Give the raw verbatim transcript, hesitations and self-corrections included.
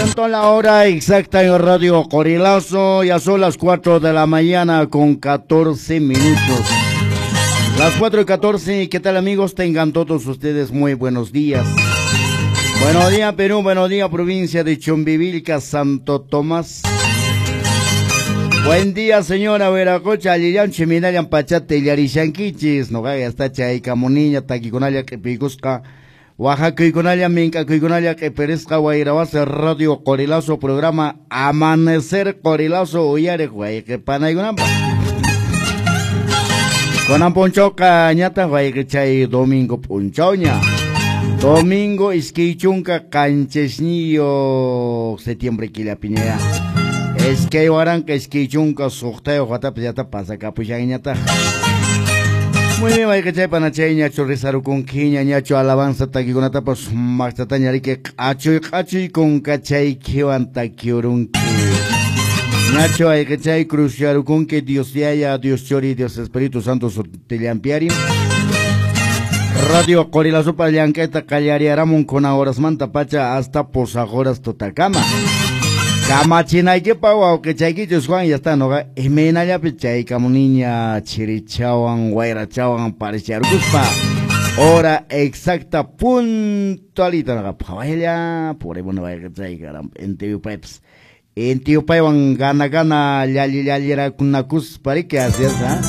Presentó la hora exacta en Radio Qorilazo, ya son las cuatro de la mañana con catorce minutos. Las cuatro y catorce, ¿qué tal, amigos? Tengan todos ustedes muy buenos días. Buenos días, Perú, buenos días, provincia de Chumbivilca, Santo Tomás. Buen día, señora Veracocha, allillanchi, minallan pachate, yarishankichis, no hasta chay camuniña, taquiconalla, que picusca, Oaxaca, mink'akuykunalla q'ipirisqa wayrawasi Radio Qorilazo, programa Amanecer Qorilazo uyariq wayqi panaykunapaq. Kunan p'unchawqa ñataq wayqichay domingo p'unchawña. Domingo iskay chunka qanchisniyuq septiembre killapiña. Iskay waranqa iskay chunka suqtayuq watapi llata pasakapushanñataq. Muy bien, wayqichay panachay ñachu rizarukunkiña ñachu alabanza takikunatapas maqtataña riki q'achuy q'achuy kunkachaykiwan takiurunki. Ñachu wayqichay cruzyarukunki Dios Yaya, Dios Chori, Dios Espíritu Santo sutillampiari. Radio Qorilazopa llank'ayta qallariaramun kuna horasmanta pacha hasta pusaq horas tutakama. Kamachinaykipaq wawqichaykichus Juan ya está noqa imaynallapi chaykamuniña chirichawan wayrachawan paricharkuspa hora exacta puntualita noqa phawaylla purimun wayqichay caramba intiyupaypas intiyupaywan gana gana llalli llallirakunakuspa riki así es, ¿ah?